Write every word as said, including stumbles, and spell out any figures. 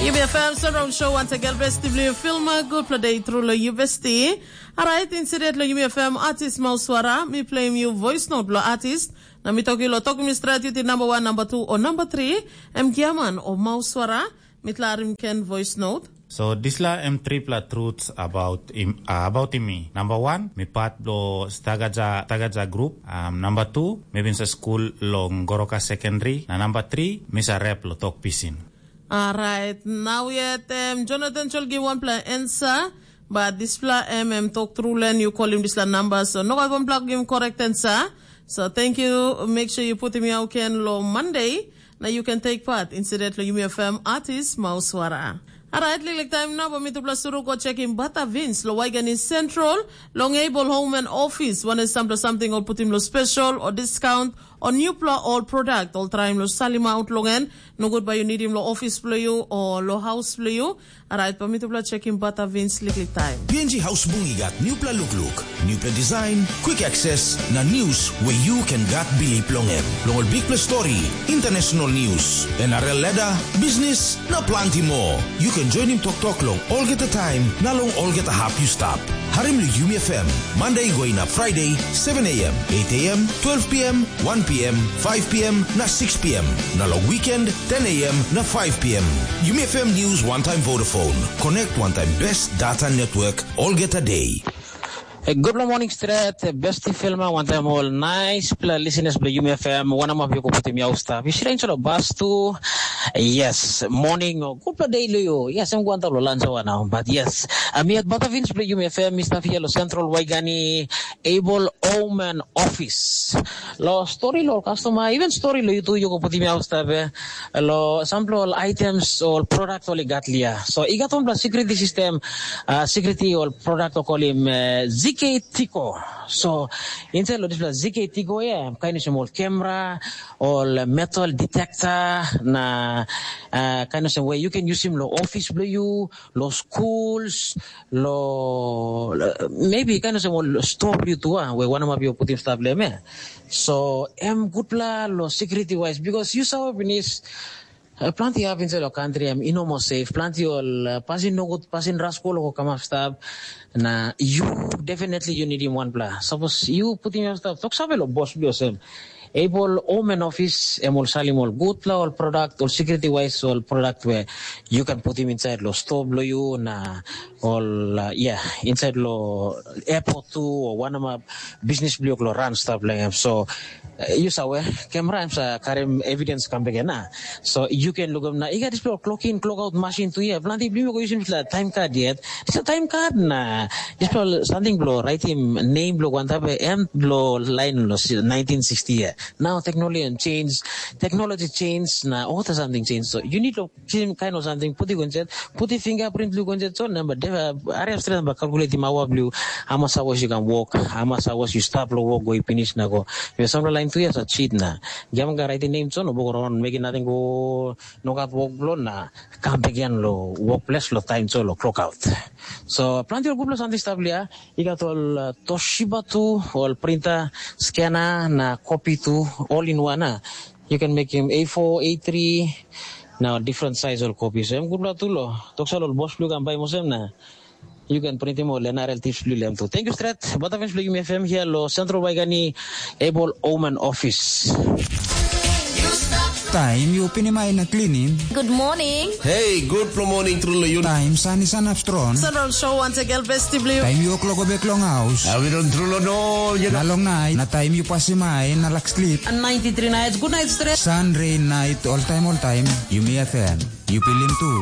Yumi F M Surround Show once again, besti bilong yu Filma, gutpela de tru long yu besti. Alright, instead long Yumi F M artist Mauswara, mi playim yu voice note lo artist. Na mi toki lo toki mi stret yu ti number one, number two o number three, em Giaman o Mauswara, mi tlarim ken voice note. So dispela em tripela truths about im, uh, about im mi. Number one, mi part blo Stagaja Tagaja group. Um, number two, mi bin sa school long Goroka Secondary. Na number three, mi sa rap lo tok pisin. Alright, now yet um, Jonathan Chol give one play answer, but dispela em em tok tru len you call him dispela number, so no one plug give correct answer. So thank you. Make sure you put him out can lo Monday. Now you can take part incident lo Yumi F M artist Mauswara. Alright, liklik time now, but me to plus suru go check him Bata Vince lo Waigani Central, long able home and office. One is sample something or put him lo special or discount on new pla all product, all try him lo salim out long en. No good by you need him lo office blo you or lo house blo you. Alright, but me to plus check him Bata Vince liklik time. P N G House Bung i gat newpela lukluk, newpela design, quick access, na news where you can gat bilip long em. Long ol bikpela story, international news, N R L ladder, business, na planti more. You can join him toktok long olgeta time, na long olgeta hap you stap. Harim lo Yumi F M, Monday going up Friday, seven a m, eight a m, twelve p m, one p m, five p m, na six p m. Na long weekend, ten a m, na five p m. Yumi F M News one time Vodafone. Connect one time best data network, olgeta day. Hey, good morning, Stret. Besti Filma, one time all. Nice pla listeners bla Yumi F M. One of you go put him out stuff. You should answer a bus too. Yes, morning or good pla day lo you. Yes, I'm going to lunch hour now. But yes, I'm here at Bata Vince bla Yumi F M. Mister Fialo Central Waigani, Able Omen Office. Lo story lo customer, even story lo you too, you go put him out stuff. Eh? Lo sample all items or product all got lia. So, he got on pla security system, uh, security or product or call him uh, Z K Tico. So, inside lo dispela Z K Tico, yeah, kind of small camera, or metal detector, na uh, kind of some way you can use him lo office bla you, lo schools, lo uh, maybe kind of some store bla you too, uh, where one of you put him stuff le me. So, em good pla lo security wise, because you saw finish Uh, planti hap inside lo country em ino mo safe, planti ol uh, pasin nogut, pasin raskol ko kamap stap. Na you definitely you need him one pla. Suppose you put him stap, tok save lo boss bli osem. Able omen office em ol salim ol good pla ol product, ol security wise ol product where you can put him inside lo store blo you na ol uh, yeah, inside lo airport too or one of my business blo lo run stuff like him. So uh, you saw eh, camera em sa karim evidence come back na. So you can look up na. Iga display clock in, clock out machine tu ya. Planti bli ko using la time card yet. It's a time card na. Display something blo write him name blo one type M blo line lo nineteen sixty ya. Now technology and change, technology change na all the something change. So you need to same kind of something. Put it on set, put the fingerprint look on set. So number, are straight number calculate him our blue. How much hours you can walk, how much hours you stop lo walk go finish na go. You some line two years a cheat na. Giam ga write the name so no book around making nothing go no got work blow na. Come again lo workplace lo time so lo clock out. So plenty of good something stuff lia. You got all uh, Toshiba too, all printer, scanner, na copy too, all in one. Ah. You can make him A four, A three, now different size all copies. Em good blood too lo. Toksal all boss blue can buy mosem na. You can print him all N R L tips blue lem too. Thank you, Strat. Butterfingers blue, you may F M here lo Central Waigani Able Omen Office. Taim yu pinim ai na klinim. Good morning. Hey, good morning, True Leon. Taim san i sanap strong. Central Show once again, besti blue. Taim yu kloko bek long haus. Awi don True Leon, you Na long nait, na taim yu pasim ai na lak slip. And ninety-three nights, good night, Strat. San, rain, night, all time, all time. Yumi F M. Yu pilim tu.